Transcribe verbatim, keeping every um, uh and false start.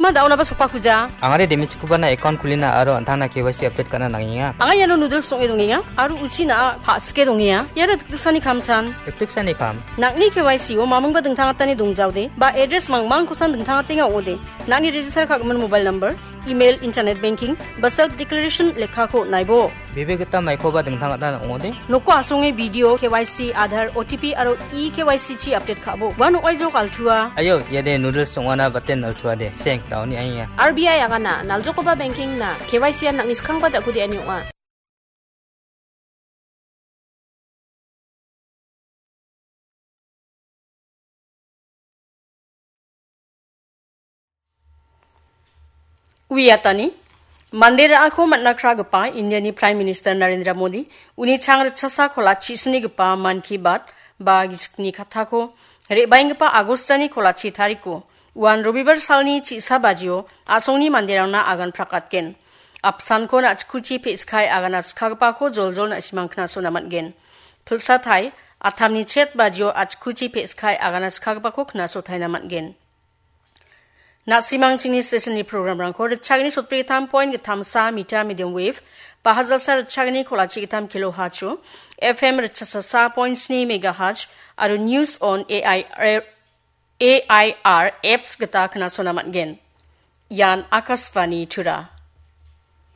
Ma daonaba sokbakuja. Angade demichikubana account kulina aro an·tangna K Y C update ka·na nangenga. Anga iano noodles ong·e dongenga aro uchina pa·sike dongenga. Iara dikdiksani kamsan. Dikdiksani kam. Nang·ni K Y C-o mamingba dingtangatani dongjaode ba address mangmangkosan dingtangatenga ong·ode. Nang·ni register ka·gimin mobile number, email, internet banking ba self declaration lekkako naibo. Bebe gita maikoba dingtangata ong·ode. Noko asonge video, K Y C, Aadhaar, O T P aro e-K Y C chi update ka·bo. Ua nokoi jok altua. Ayo, iade noodles ong·ana baten altuade. Seng, daoni ainga. R B I agana, naljokoba banking na, K Y C an nang·ni skangba ja·kode ani ong·a. Uiatani, mande ra·ako man·a kragipa Indiani Prime Minister Narendra Modi uni chang ritchasa kolachi sinigipa Mann Ki Baat ba gisikni kattako re·baenggipa Agostani kolachi tariko uan Robibar salni chi·sa bajio a·songni manderangna agan prakatgen. Apsanko na·chikuchi pe·skai agana sikagipako joljol na·simang knasona man·gen. Pilsatai, atamni chet bajio a·chikuchi pe·skai agana sikagipako knasotaina man·gen. Na·simangchingni stationni programrangko ritchagni sotbri gittam point gittamsa meter medium wave, ba hajalsa ritchagni kolachi gittam kilohertz-o, F M ritchasa sa point sni megahertz, aro News on A I R, A I R apps gita knasona man·gen. Ian Akashvani Tura.